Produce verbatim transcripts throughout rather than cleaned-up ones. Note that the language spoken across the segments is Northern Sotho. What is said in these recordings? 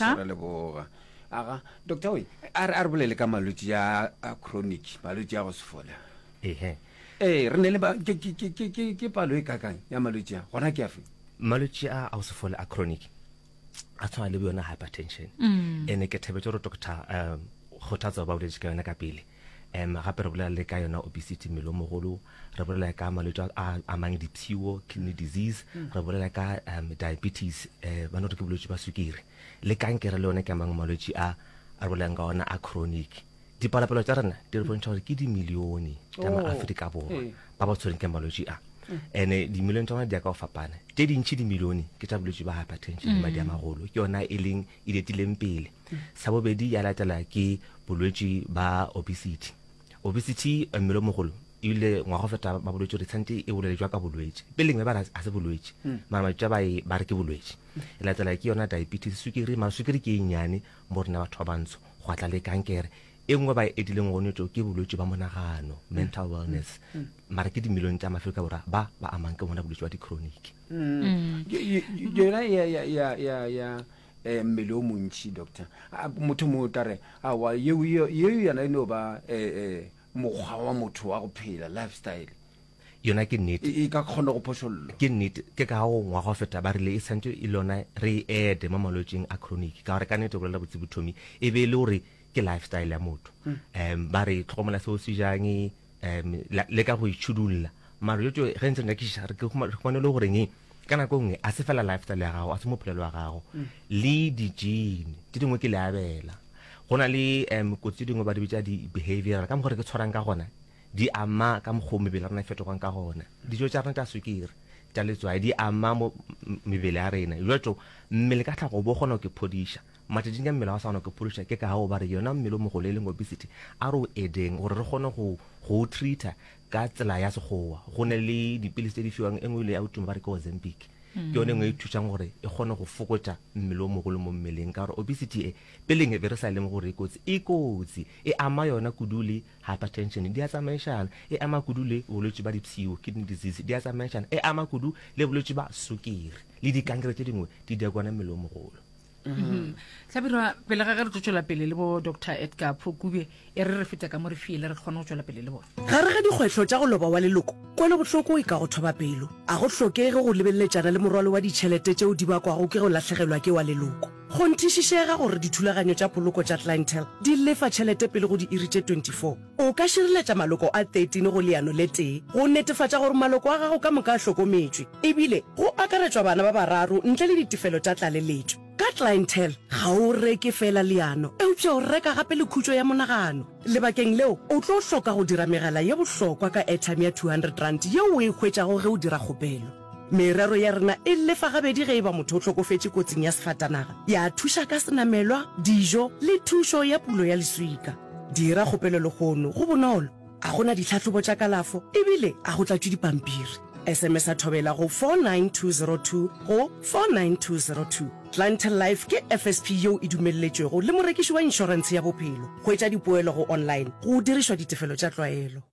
Doctor. Re leboga. Aga, doctor we, a re a re bolele ka malwetši a a chronic, malwetši a go se fole. Ehe. Ee, re ne le ba ke ke ke ke ke ke palo e kakang ya malwetši a. Gona ke afe? Malwetši a a go se fole a chronic a tshwana le yona hypertension. Ene ke thabetse gore doctor um Kgothatso ba boletše ka yona ka pele. Um gape re bolela le ka yona obesity, mmele o mogolo, re bolela ka malwetši a a amang dipshio, kidney disease, re bolela ka um diabetes, eh ba no re ke bolwetši ba sukiri, le kankere le yona ke a mangwe malwetši a a re bolelang ka ona a chronic. Dipalopalo tša rena di re bontšha gore ke dimilione tša Oh, maAfrika Borwa ee. ba ba tshwereng ke malwetši a. Ene dimilione tša bona di ya ka go fapana. Tše dintši dimilione ke tša bolwetši ba hypertension le madi a magolo, ke yona e leng e letileng pele. Sa bobedi ya latela ke bolwetši ba obesity. Obesity, mmele o mogolo, ebile ngwaga go feta ba bolwetši gore tshwanetse e bolele jwa ka bolwetši. Peleng be ba re a se bolwetši, mara matšatši a ba e ba re ke bolwetši. E latela ke yona diabetes, sukiri, mara sukiri ke e nnyane mo rena batho ba bantsho, gwa tla le kankere. E nngwe ba e edileng gone tšo ke bolwetši ba monagano, mental wellness. Mara ke dimilione tša maAfrika Borwa ba ba amang ke bona bolwetši ba di-chronic. Yona ya ya ya ya ya eh, mmele o montši doctor. A, motho mongwe o tla re aowa yeo yeo yona e no ba eh, eh, mokgwa wa motho wa go phela, lifestyle. Yona ke nnete. E, e ka kgona go phošollwa. Ke nnete, ke ka go ngwaga go feta ba rile e santše e le yona re e ede mo malwetšing a chronic, ka gore ka nnete go bolela botse bothomi e be e le gore ke lifestyle ya motho. Um ba re tlhokomela seo se jang, um le ka go itšhudulla. Mara jo tšo ge ntse re nyakišiša re ke re humane le goreng ka nako e nngwe a se fela lifestyle ya gago, a se mophelelo wa gago, le di-gene tše dingwe ke leabela. Go na le um kotsi tše dingwe ba di bitša di-behavioral, ka mokgwa re ke tshwarang ka gona di ama ka mokgwa mebele ya rena e fetogang ka gona. Dijo tša rena tša sukiri, tša letswai di ama mo mebele ya rena. Jwalo mmele ka tlhago bo kgona go ke phodiša. Matšatšing a mmele ga o sa kgona go ke phodiša, ke ka gao ba re yona mmele o mogolo e leng obesity a re o edeng gore re kgone go go o treat-a ka tsela ya sekgowa. Go ne le dipilisi tše di fiwang, e nngwe ile ya tuma ba re ke Ozempic. Ke yone e nngwe e thušang gore e kgone go fokotša mmele o mogolo mo mmeleng, ka gore obesity e peleng e be re sa lemoge gore e kotsi. E kotsi, e ama yona kudu le hypertension, di a tsamaišana, e ama kudu le bolwetši ba dipshio, kidney disease, di a tsamaišana, e ama kudu le bolwetši ba sukiri le dikankere tše dingwe di diakwana mmele o mogolo. Hlabirwa, pele ga ge re tlo tšwela pele le bo Doctor Edgar Phokube, e re re fete ka mo re fiele re kgone go tšwela pele le bona. Gare ga dikgwehlo tša go loba wa leloko, kwelobohloko e ka go thoba pelo. A go hlokege go lebeleletšana le morwalo wa ditšhelete tšeo di bakwago ke go lahlegelwa ke wa leloko. Kgonthišišega gore dithulaganyo tša poloko tša Clientele di lefa tšhelete pele go diiri tše twenty-four. O ka šireletša maloko a thirteen go leano le tee go netefatša gore maloko a gago ka moka a hlokometšwe, ebile go akaretšwa bana ba bararo ntle le ditefelo tša tlaleletšo. Ka Clientele, ga o reke feela leano, eupša o reka gape le khutšo ya monagano. Lebakeng leo, o tlo hloka go dira megala ye bohlokwa ka airtime ya two hundred rand yeo o e hwetšago ge o dira kgopelo. Merero ya rena e lefa gabedi ge e ba motho o hlokofetše kotsing ya sefatanaga, ya thuša ka senamelwa, dijo le thušo ya pulo ya leswika. Dira kgopelo lehono, go bonolo, a go na ditlhahlobo tša kalafo ebile a go tlatšwe dipampiri. S M S a thobela go four nine two zero two go four nine two zero two. Clientele Life ke F S P yeo e dumelletšwego le morekiši wa inšorentshe ya bophelo. Hwetša dipoelo go online go dirišwa ditefelo tša tlwaelo.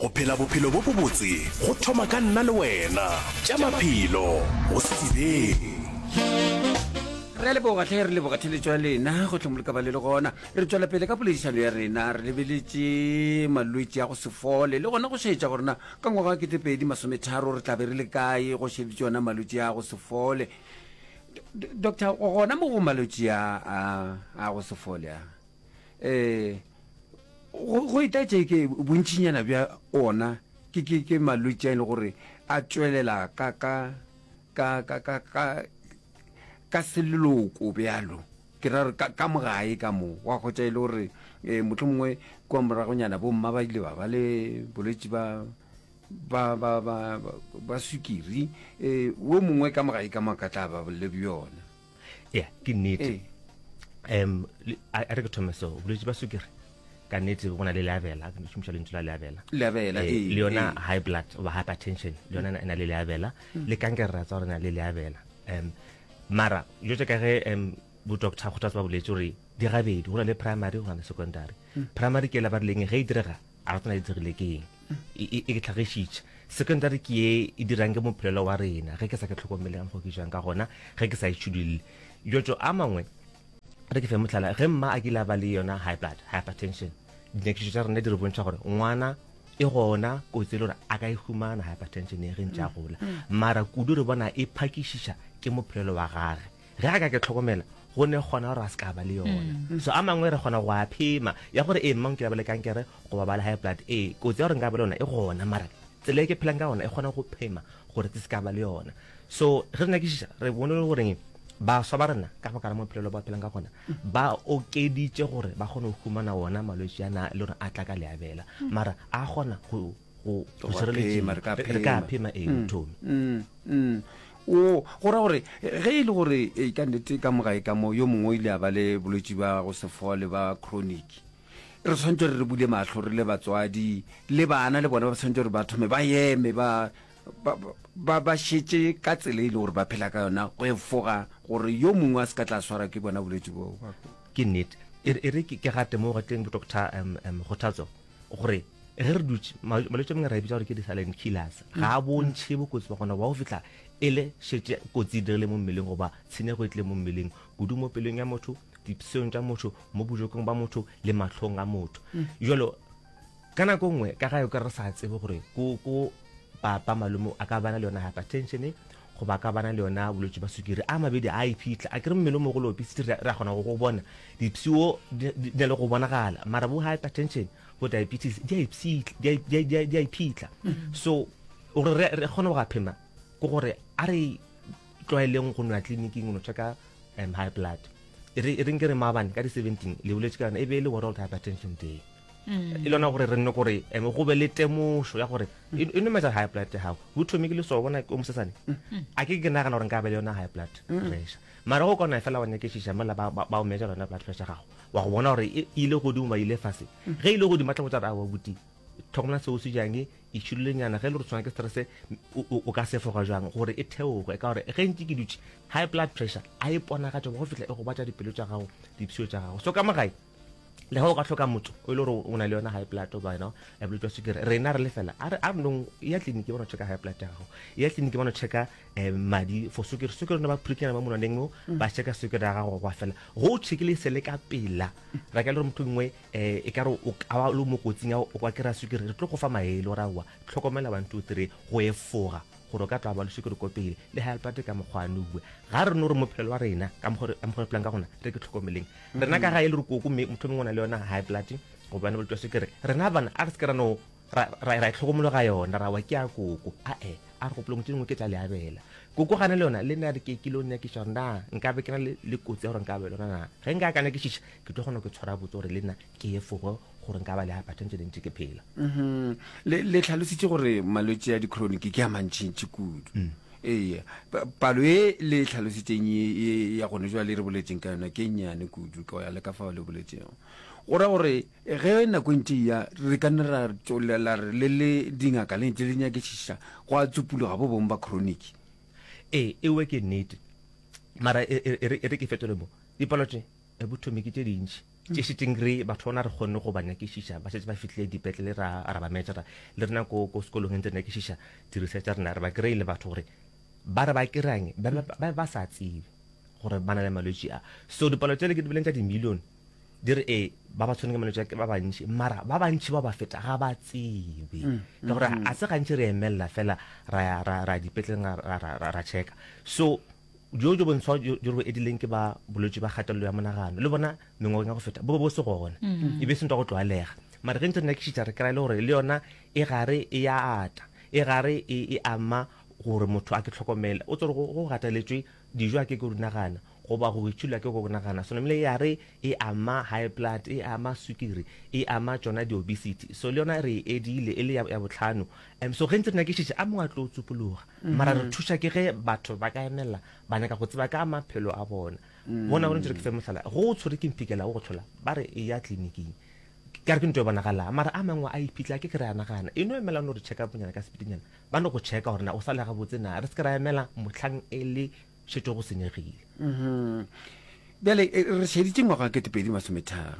Go phela bophelo bo bobotse go thoma ka nna le wena. Tša maphelo go sedibeng. Re a leboga hle, re leboga theletšo ya lena go hlomoloka ba le le gona. Re tšwela pele ka poledišano ya rena, re lebeletše malwetši a go se fole le gona go šetša gore na ka ngwaga wa ketepedi masometharo re tla be re le kae go šeditše ona malwetši a go se fole. Doctor, gona mo go malwetši a a a go se fole a, eh go go itaetše ke bontšinyana bja ona ke ke ke malwetši a e le gore a tšwelela ka ka ka ka ka ka ka seleloko bjalo, ke ra gore ka ka mogae ka mo wa hwetša e le gore eh, mohlomongwe kua moragonyana bomma ba ile ba ba le bolwetši ba ba ba ba ba sukiri, eh wo mongwe ka mogae ka mo ka tla ba le bjona. Ya, ke nnete. Um a re ke thome so, bolwetši ba sukiri ka nnete go na le leabela, ke šomiša lentšu la leabela. Leabela, ee, le yona high blood goba hypertension le yona e na le leabela, le kankere ra tseba gore e na le leabela. Um mara jo tše ka ge um bo doctor Kgothatso ba boletše gore di gabedi, go na le primary go na le secondary. Primary ke ela ba rileng ge e direga a re tsena e dirile ke eng, e e tlhagišitše. Secondary ke ye e dirang ke mophelelo wa rena, ge ke sa ke tlhokomele ka mokgwa ke jang ka gona, ge ke sa itšhudulle. Jotšo a mangwe Re ke fe mohlala, ge mma a kile a ba le yona high blood, hypertension, dinyakišišo tša rena di re bontšha gore ngwana e gona kotsi e le gore a ka e humana hypertension e ge ntše a gola. Mara kudu re bona e phakišiša ke mophelelo wa gage. Ge a ka ke tlhokomela, go ne kgona gore a se ka ba le yona. So a mangwe re kgona go a phema, ya gore ee mma o kile a ba le kankere goba ba le high blood, ee kotsi ya gore nka ba le yona e gona, mara tsela e ke phelang ka gona e kgona go phema gore ke se ka ba le yona. So ge re nyakišiša re bone le goreng baswa ba rena ka baka la mophelelo ba phelang ka gona ba okeditše gore ba kgone go humana wona malwetši a na le gore a tla ka leabela, mara a kgona go go go šireletšiwa, re ka phema ee Tommy. Mm, mm. O go ra gore ge e le gore e ka nnete ka mo gae ka mo yo mongwe o ile a ba le bolwetši ba go se fole ba chronic, re tshwanetse gore re bule mahlo re le batswadi le bana le bona ba tshwanetse gore ba thome ba eme ba ba ba ba šetše ka tsela e le gore ba phela ka yona go efoga gore yo mongwe a se ka tla swara ke bona bolwetši bo. Ke nnete. E re e re ke gate mo go teng Doctor um um Kgothatso gore ge re dutše malwetši a mangwe re a bitša gore ke di-silent killers, ga a bontšhe bokotsi ba gona wa go fihla e le šetše kotsi e dirile mo mmeleng goba tshenyego e tlile mo mmeleng, kudu mo pelong ya motho, dipsheong tša motho, mo bojokong ba motho le mahlong a motho. Jalo ka nako nngwe ka gae o ka re sa tsebe gore ko ko papa malome a ka bana le yona hypertension goba a ka bana le yona bolwetši ba sukiri, a mabedi a iphitlha a kere mmele o mogolo obesity re a kgona go go bona dipshio di na le go bonagala, mara bo hypertension bo diabetes di a ipshitla di a iphitlha. So gore re re kgone go a phema ke gore a re tlwaeleng go nwa tleliniking go no checka um high blood. E re e reng ke re maabane ka di seventeen le boletše ka yona e be e le World Hypertension Day. E lona gore re nne gore um go be le temošo ya gore e e no measure high blood ya gago. Bo thome ke le so bona o mosesane. A ke ke nagana gore nka ba le yona high blood pressure. Mara go kona fela wa nyakišiša mola ba ba o measure yona blood pressure gago wa go bona gore e ile godimo ba ile fase. Ge ile godimo ba tla botsa gore aowa buti tlhokomela seo se jang, e tšhidulenyana ge e le gore tshwana ke stress o ka sefoga jwang gore e theoge, ka gore ge ntše ke dutše high blood pressure a e ponagatša go fihla e gobatša dipelo tša gago, dipshio tša gago. So ka mo gae le ge o ka hloka motho o e le gore o na le yona high blood goba yona bolwetši bja sukiri, rena re le fela a re a re nong ya tleliniki ba no checka high blood ya gago, ya tleliniki ba no checka um madi for sukiri, sukiri no ba pricknyana mo monwaneng mo ba checka sukiri ya gago gwa fela. Go o checkile se le ka pela ra ka le gore motho nngwe um e ka re o ka ba le mo kotsing ya o ka kry-a sukiri, re tlo go fa maele gore aowa tlhokomela one two three go efoga gore o ka tla ba le sukiri ko pele le high blood ka mokgwa noe. Ga re no re mophelo wa rena ka mokgwa re phelang ka gona re ke tlhokomeleng rena ka ga e le re koko mme motho mongwe o na le yona high blood gobane bolwetši bja sukiri, rena bana a re se ke ra no ra ra itlhokomologa yona ra wa ke ya koko, ae a re gopolong tše dingwe ke tša leabela. Koko gane le yona le nna re ke ke lo nyakiša gore na nka be ke na le kotsi ya gore nka be le yona na, ge nka ka nyakišiša ke tlo kgona go tshwara botse gore le nna ke efoge gore nka ba le hypertension ntše ke phela. Le le tlhalositše gore malwetši a di-chronic ke a mantšintši kudu. Ee, palo e le tlhalositšeng ye ya gone jwale re boletseng ka yona ke nnyane kudu ka ya le ka fao le boletšego. Go ra gore ge nako e ntše e ya re ka nna ra tšwelela re le le dingaka le ntše le nyakišiša go a tsupuloga bo bongwe ba chronic. Ee, ewe ke nnete. Mara e, e, e re e re ke fetole mo. Dipalo tše e bothomi ke tše dintši tše šetšeng re batho bona re kgonne go ba nyakišiša, ba šetše ba fihlile dipetlele ra ra ba measure le rena ko ko sekolong ntse re nyakišiša di-research tša rena re ba kry-ile batho gore ba re ba kry-ang ba ba ba sa tsebe gore ba na le malwetši a. So dipalo tšele ke di boleng tša di-million di re ee ba ba tshwene ke malwetši a ke ba bantši, mara ba bantši ba ba feta ga ba tsebe ka gore a se gantši re emelela fela ra ya ra ra dipetleleng ra ra ra ra checka. So jo jo bontshwa jo jo re bo edileng ke ba bolwetši ba kgatelelo ya monagano le bona mengwageng ya go feta bo be bo se gona, e be se ntwa go tlwaelega. Mara ge ntse re nyakišiša re kry-a le gore le yona e gare e ya ata, e gare e e ama gore motho a ke tlhokomele. O tsere go go gateletšwe dijo a ke ke go di nagana goba go itšhula ke go nagana, so namile ya re e ama high blood, e ama sukiri, e ama tšona di-obesity. So le yona re e edile e le ya, ya bohlano. Um so ge ntse re nyakišiša a mongwe a tlo tsupologa, mara re thuša ke ge batho ba ka emelela ba nyaka go tseba ka maphelo a bona. Bona gore ntse re ke fe mohlala, go o tshwere ke mphikela o go tlhola ba re e ya tleliniking, ka re ke ntho e bonagalang, mara a mangwe a iphitlha ke ke re a nagana e no emela no re check up nyana ka sepedinyana, ba no go checka gore na o sa le gabotse na, re se ke ra emela mohlang e le šetše go senyegile. Bjale re šeditše ngwaga ketepedi masometharo.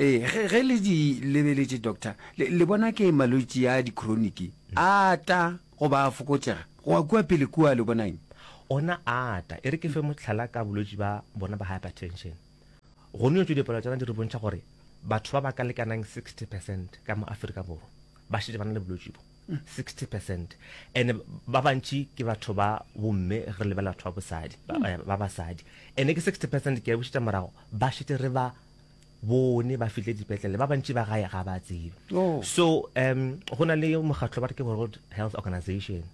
Ee, ge, ge le di lebeletše doctor, le, le bona ke malwetši a di-chronic a ata goba a fokotšega go ya kua pele kua, le bona eng? Ona a ata. E re ke fe mohlala ka bolwetši ba bona ba hypertension. Go no tšo dipalo tša di re bontšha gore batho ba ba ka lekanang sixty percent ka mo Afrika Borwa ba šetše ba na le bolwetši bo. sixty percent. And ba bantši ke batho ba bomme ge re lebelela batho ba bosadi, ba, ba basadi. And ke sixty percent ke a bušetša morago, ba šetše re ba bone ba fihle dipetlele, ba bantši ba gae ga ba tsebe. Oh. So um go na le mokgatlo ba re ke World Health Organization.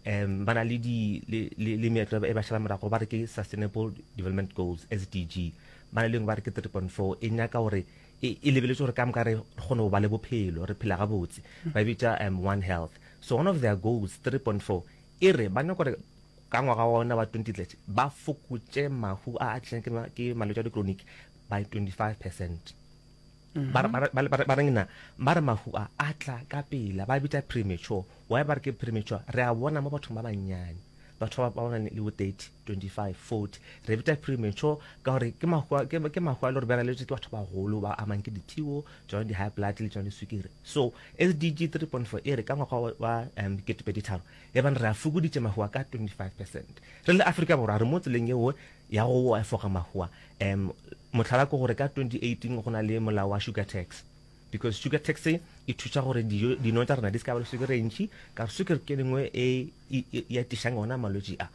Um ba na le di le le, le meetlo e ba šala morago ba re ke Sustainable Development Goals, S D G. Ba na le ba re ke three point four e nyaka gore e, e lebeletse gore ka moka re kgone go ba le bophelo, re phela gabotse. Ba bitša um One Health. So one of their goals three point four e re ba nyaka gore ka ngwaga wa ona wa twenty thirty ba fokotše mahu a a tlišang ke ma-, ke malwetši a di-chronic by twenty-five percent. Ba re, ba re, ba re, ba reng na? Ba re mahu a a tla ka pela, ba bitša premature. Why ba re ke premature? Re a bona mo bathong ba bannyane, batho ba ba nang le bo thirty, twenty-five, forty. Re bitša premature ka gore ke mahu a, ke, ke mahu a le gore ba raletswe ke batho ba bagolo ba amang ke dithio, tsona di-high blood le tsona diswikiri. So S D G three point four e re ka ngwaga wa, wa, um, ketepedi tharo, e bang re a fokoditše mahu a ka twenty-five percent. Re le Afrika Borwa re mo tseleng eo ya go efoga mahu a. Um, mohlala ke gore ka twenty eighteen go na le molao wa sugar tax, because sugar tax e thuša gore dijo, dino tša rena di se ka ba le sukiri e ntši, ka gore sukiri ke lengwe e, e, e, e atišang ona malwetši a.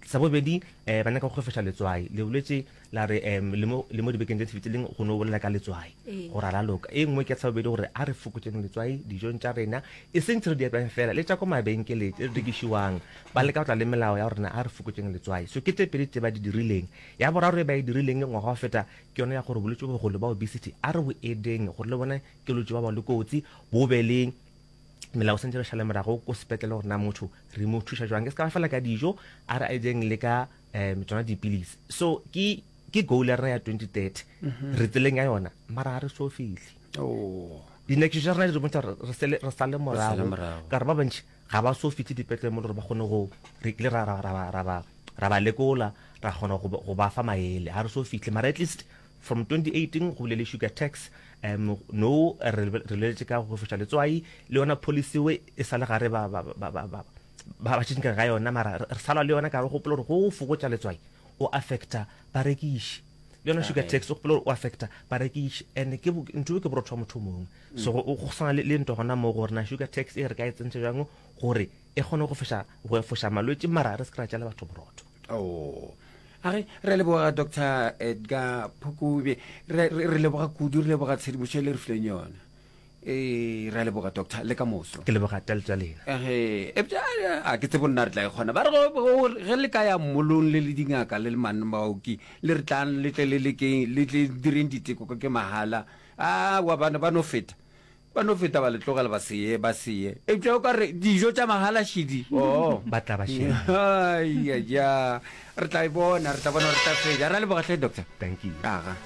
Sa bobedi, eh, ba nyaka go kgwefeša letswai. Le bolwetši la re, em, le mo, le mo dibekeng tse fetileng go no bolela ka letswai. Ee. Gore a la loka. E nngwe ke sa bobedi gore a re fokotseng letswai dijong tša rena, e seng tse re di apayang fela, le tša ko mabenkeleng tse di rekišiwang. Ba leka go tla le melao ya gore a re fokotseng letswai. So ke tse pedi tse ba di dirileng. Ya boraro e ba e dirileng ngwaga wa feta ke yona ya gore bolwetši bo bogolo ba obesity a re bo edeng gore le bone ke bolwetši ba ba le kotsi, bo be le melao santse re šale morago ko sepetlele gore na motho re mo thuša jwang. Ke se ka ba fela ka dijo, a re a ejeng le ka, um, tsona dipilisi. So ke, ke goal ya rena ya twenty thirty. Mm-hmm. Re tseleng ya yona, mara ga re so fihle. Oh. Dinyakišišo tša rena di re bontšha gore re sele, re sale Re sale morago. morago. Ka gore ba bantši ga ba so fihle dipetlele mo le gore ba kgone go re kile ra, ra, ra, ra, ra, ra, ra ba lekola, ra kgona go ba, go ba fa maele. Ga re so fihle, mara at least from twenty eighteen go bile le sugar tax, um, no re, re leletše ka go foša letswai, le yona policy we e sa le gare ba, ba, ba, ba, ba, ba, ba tšhentšha ga yona, mara re, re salwa le yona ka re gopola gore go fokotša letswai o affecta barekiši. Le yona sugar tax o gopola gore o affecta barekiši, and ke bo-, ntho e ke borotho wa motho o mongwe. So go, go swana le, le ntwa gona mo gore na sugar tax e re ka e tsentšha jwang gore e kgone go foša, go efoša malwetši, mara re se ke ra tšela batho borotho. Oh. A re, re leboga Doctor Edgar Phukubye. Re, re, re leboga kudu, re leboga tshedimošo e le re fileng yona. Eh, re a leboga doctor, le ka moso. Ke leboga taletšo ya lena. Ehe, epša, a ke tsebe nna re tla e kgona. Ba re go, go, ge le ka ya mmolong le le dingaka le le manna baoki, le re tlang le tle le lekeng, le tle direng diteko ka ke mahala. A, wa bana ba no feta. Ba no feta ba le tlogela ba se ye, ba se ye. Eupša o ka re dijo tša mahala šidi. Oh. Ba tla ba šedi. Ai, ya, ya. Re tla e bona, re tla bona, re tla fetša. Re a leboga hle, doctor. Thank you. Aga.